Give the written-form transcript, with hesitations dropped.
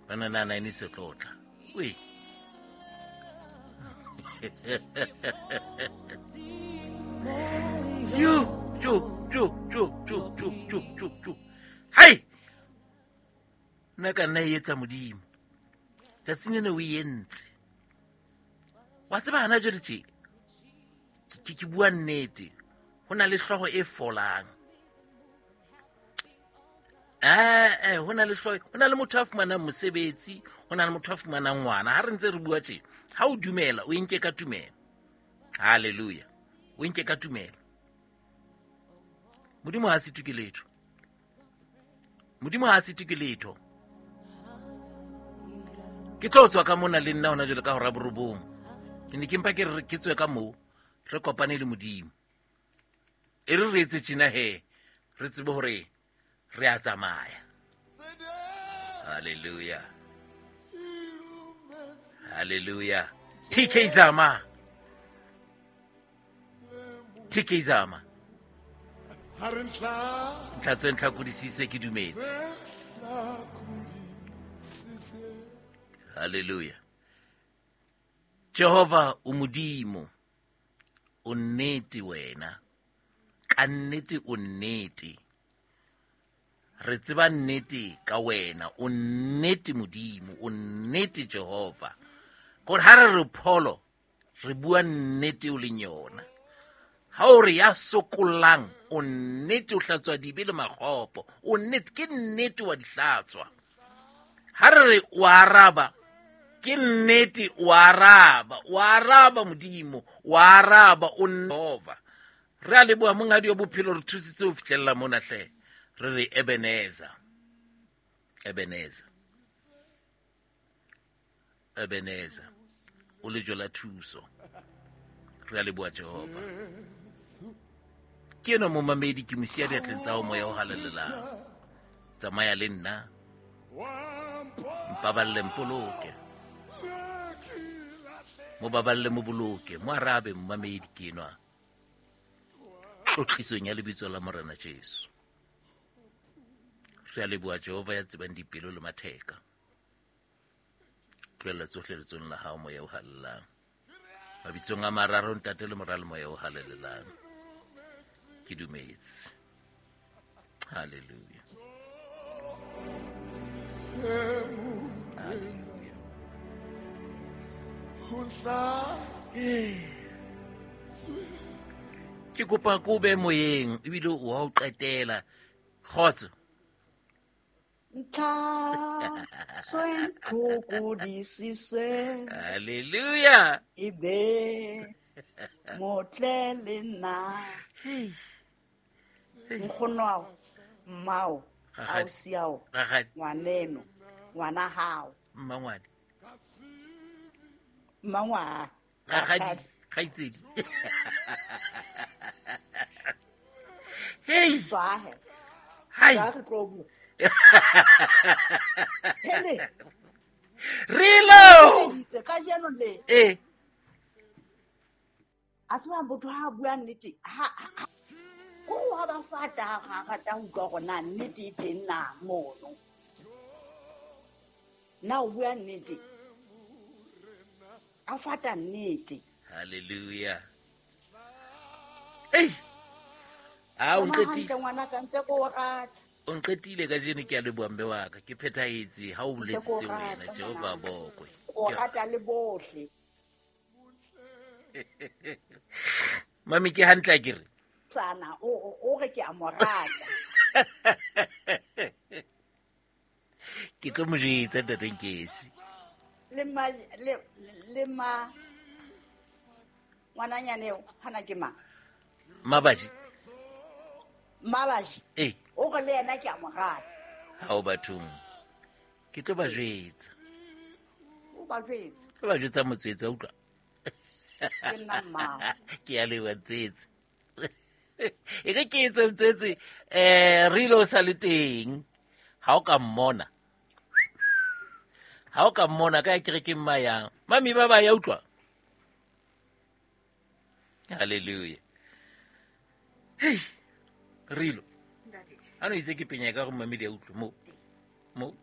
Banana nine se tlotla. Ui. Yo, yo, yo, yo, yo, yo, yo, yo, yo. Hai! Nna ka nna e etsa modimo. Tsatsing lena o e entse. Wa tseba hana jwale tje. Ke bua nnete. Ho na le hlooho e folang. Ee, ho na le hlooho, ho na le motho a fumanang mosebetsi, ho na le motho a fumanang ngwana. Ha re ntse re bua tje, ha o dumela, o enke ka tumelo. Hallelujah. O enke ka tumelo. Modimo ha se ke letho. Modimo ha se ke letho. Ke tlo tswa ka mona le nna hona jwale ka hora borobong. Ke ne ke mpa ke re ke tswe ka moo, re kopane le Modimo. E re re etse tjena he, re tsebe hore re a tsamaya. Hallelujah. Hallelujah. TK Zama. TK Zama. Ntlha tswe ntlha kodisise ke dumetse. Hallelujah. Jehova o Modimo. O nnete wena. Ka nnete o nnete. Re tseba nnete ka wena. O nnete Modimo, o nnete Jehova. Gore ha re re pholo, re bua nnete o leng yona. Ha o re ya sokollang, o nnete o hlatswa dibe le makgopo. O nnete, ke nnete wa di hlatswa. Ha re re o araba, ke nnete o araba. O araba Modimo, o araba o Jehova. Re a leboha monghadi wa bophelo re thusitse ho fihlella mona hle. Re re Ebenezer. Ebenezer. Ebenezer. O lejwe la thuso. Re a leboha Jehova. Ke enwa momamedi ke mo siya diatleng tsa hao moya o halalelang. Tsamaya le nna. Mpaballe mpoloke. Mo baballe mo boloke. Mo arabe momamedi ke enwa. Tlotlisong ya lebitso la Morena Jesu. Re a leboha Jehova ya tsebang dipelo le matheka. Tlohella tsohle letsong la hao moya o halalelang. Mabitsong a mararo ntate le mora le moya o halalelang. Ke dumetse. Hallelujah. Hallelujah. Ke kopa ko be moyeng ebile o wa o qetela. Kgotso. Ntlha swentlhokodisise Hallelujah. e be motle le nna nkgono ao mmao Rakgadi. ausi ao Rakgadi. ngwaneno ngwana hao Mmangwane. mmangwana Rakgadi. Kgaitsedi. Hey. tswahe Hai. tswa re tlo bua hele Rilo. itse kajeno le Eh. a tseba motho ha a bua nnete ko wa ba fata ga rata ho utlwa hore na nnete e teng na mono. Na o bua nnete? A fata nnete. Hallelujah. Ei. Ah, o Tsamaya nqetile. hantle ngwanaka ntse ke o rata. O nqetile kajeno ke a leboha mme wa ka. Ke phethahetse ha o Ntse ke o boletsitse wena rata Jehova ngwanaka. bokwe. Ke o rata le bohle. Mami ke hantle a ke re. Tsana o re ke a mo rata. Ke tlo mo jwetsa ntate Nkesi. Le ma le ma ngwananyane eo hana ke mang? Mabaji. Mabaji. Eh. O re le yena ke a mo rata. Ha o bathong. Ke tlo ba jwetsa. O ba jwetsa. Ke ba jwetsa motswetse wa utlwa. Ke nna mmao. Ke a leboha Ntswetse. E re ke etswe Ntswetse, re ile o sa le teng. Ha o ka mmona. Ha o ka mmona ka kerekeng mayang. Mami ba ba ya utlwa. Hallelujah. Hey. Rilo. Ntate. Ha no itse ke penya ka go mamedi ya utlwe mo. Mo.